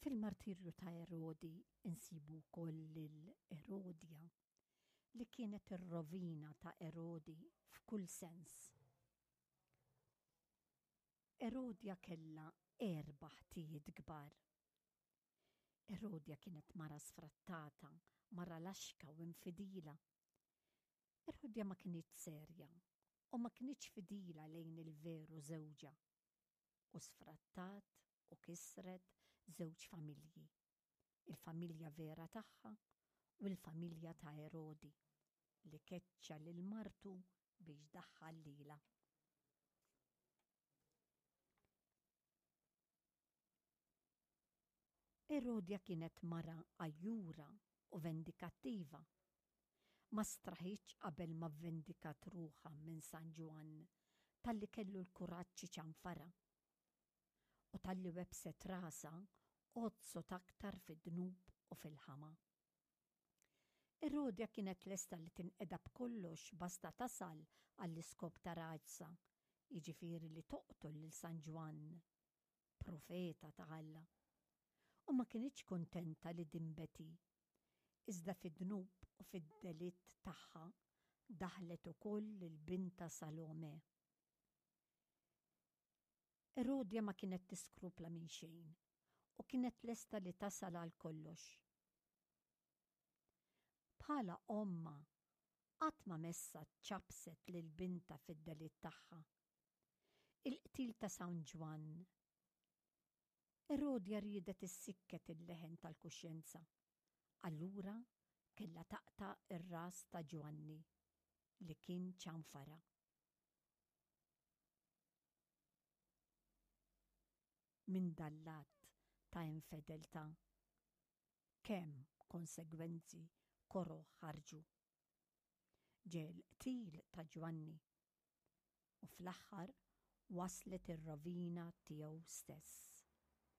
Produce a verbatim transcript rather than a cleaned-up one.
Fil-martirju ta' Erodi insibu wkoll lil Erodja li kienet ir-rovina ta' Erodi f'kull sens. Erodja kellha erba' ħtijiet kbar. Erodja kienet mara sfrattata, mara laxka u infidila. Erodja ma kinitx serja u ma kinitx fidila lejn il-veru żewġha u sfrattat u kisret żewġ familji, il-familja vera tagħha u l-familja ta' Erodi li keċċa lil martu biex daħħal lilha. Erodja kienet mara għajjura u vendikattiva. Ma straħitx qabel ma vvendikat ruħha minn San Ġwann talli kellu l-kuraġġ iċanfarha. U talli webbset rasha għodsot aktar fid-dnub u fil-ħama. Erodja kienet lesta li tinqeda b'kollox basta tasal għall-iskop ta' rasha, jiġifieri li toqtol lil San Ġwann, profeta ta' Alla. U ma kinitx kuntenta li dinbet hi, iżda fid-dnub u fid-delitt tagħha daħlet ukoll lil bintha Salome. Erodja ma kienet tiskrupla minn xejn u kienet lesta li tasal għal kollox. Bħala ommha qatt ma messha ċappset lil bintha fid-delitt tagħha. Il-qtil ta' San Ġwann. Erodja riedet issikket il-leħen tal-kuxjenza. Allura kellha taqta' r-ras ta' Ġwanni li kien ċanfarha. Minn dan l-att ta' infedeltà, kemm konsegwenzi koroh ħarġu! Ġie l-qtil ta' Ġwanni u fl-aħħar waslet ir-rovina tiegħu stess.